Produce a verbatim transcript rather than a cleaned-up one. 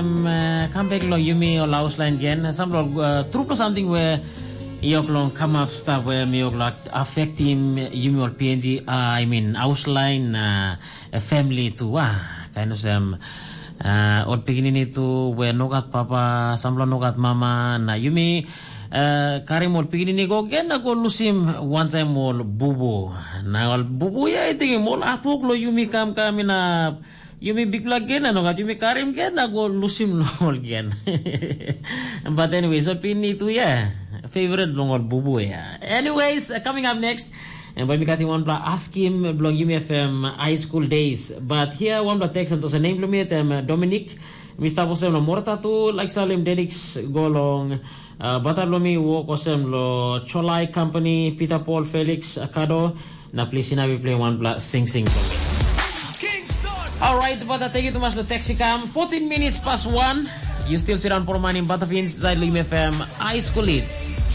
Em uh, kam bek long yumi ol haus lain gen. Sampela uh, trupela samting we yok long kamap stap we mi yok lak afektim yumi ol P N G, uh, I mean haus lain uh, family tu ah. Kain olsem uh, ol pikinini tu we nogat papa, sampela nogat mama, na yumi uh, karim ol pikinini go gen na go lusim wantaim ol bubu. Na ol bubu ya I tingim ol hatwok lo yumi kam kam inap yumi bikpela gen na nogat yumi karim gen na go lusim lo ol gen. But anyways, ol pikinini tu ya favorite bilong ol bubu ya. Anyways, uh, coming up next, and by mi katim wanpela askim bilong yumi F M high school days. But here wanpela text and tosa name bilong mi tem uh, Dominic. Mista bosem lo morata tu like salim Dedix go long uh, bata bilong mi wok osem lo Cholai Company, Peter Paul, Felix, Akado, na plis inap i play wanpela singsing for me. Alright, but I take it too much the taxi cam. fourteen minutes past one. You still sit on for money in Butterfin inside Lim F M. High school leads.